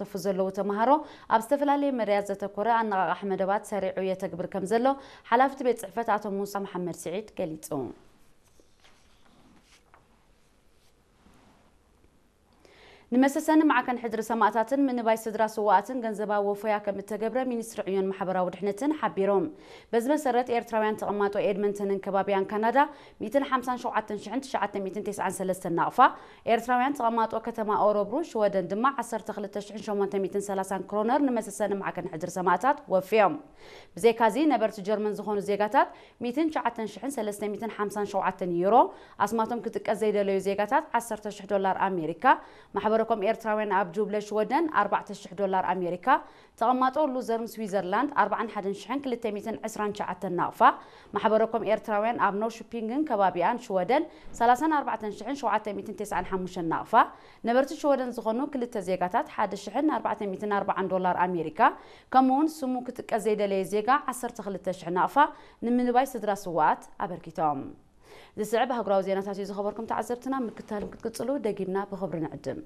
ዝሳተፉ ዘለዉ ተምሃሮ ኣብ ዝተፈላለየ መዳያት ዘተኮረ ኣነቓቓሒ መደባት ሰሪዑ የተግብር ከም ዘሎ ሓላፊ እቲ ቤት ጽሕፈት ኣቶ ሙሳ መሓመድ ስዒድ ገሊጹ። ንመሰሰኒ ማዕከን ሕድሪ ሰማእታትን ምንባይ ስድራ ስዋኣትን ገንዘባዊ ወፈያ ከም እተገብረ ሚኒስትሪ ዕዮን ማሕበራዊ ድሕነትን ሓቢሮም። በዚ መሰረት ኤርትራውያን ተቐማጦ ኤድመንተንን ከባቢያን ካናዳ ሚእትን ሓምሳን ሸውዓተን ሽሕን ትሽዓተ ሚእትን ተስዓን ሰለስተን ናቕፋ፣ ኤርትራውያን ተቐማጦ ከተማ ኦረብሩ ሽወደን ድማ ዓሰርተ ክልተ ሽሕን ሸሞንተ ሚእትን ሰላሳን ክሮነር ንመሰሰኒ ማዕከን ሕድሪ ሰማእታት ወፍዮም። ብዘይካዚ ነበርቲ ጀርመን ዝኾኑ ዜጋታት ሚእትን ትሽዓተን ሽሕን ሰለስተ ሚእትን ሓምሳን ሸውዓተን ዩሮ፣ ኣስማቶም ክጥቀስ ዘይደለዩ ዜጋታት ዓሰርተ ሽሕ ዶላር ኣሜሪካ፣ ማሕበረኮም ኤርትራውያን ኣብ ጁብለ ሽወደን ኣርባዕተ ሽሕ ዶላር ኣሜሪካ፣ ተቐማጦ ሉዘርን ስዊዘርላንድ ኣርባዓን ሓደን ሽሕን ክልተ ሚእትን ዕስራን ትሽዓተን ናቕፋ፣ ማሕበረኮም ኤርትራውያን ኣብ ኖርሾፒንግን ከባቢኣን ሽወደን ሰላሳን ኣርባዕተን ሽሕን ሸውዓተ ሚእትን ተስዓን ሓሙሽተን ናቕፋ፣ ነበርቲ ሽወደን ዝኾኑ ክልተ ዜጋታት ሓደ ሽሕን ኣርባዕተ ሚእትን ኣርባዓን ዶላር ኣሜሪካ፣ ከምኡውን ስሙ ክጥቀስ ዘይደለየ ዜጋ ዓሰርተ ክልተ ሽሕ ናቕፋ ንምንባይ ስድራ ስዋኣት ኣበርኪቶም። ዝስዕብ ኣህጉራዊ ዜናታት እዩ ዝኸበርኩም ተዓዘብትና፣ ምክታል ክትቅጽሉ ደጊምና ብኽብሪ ንዕድም።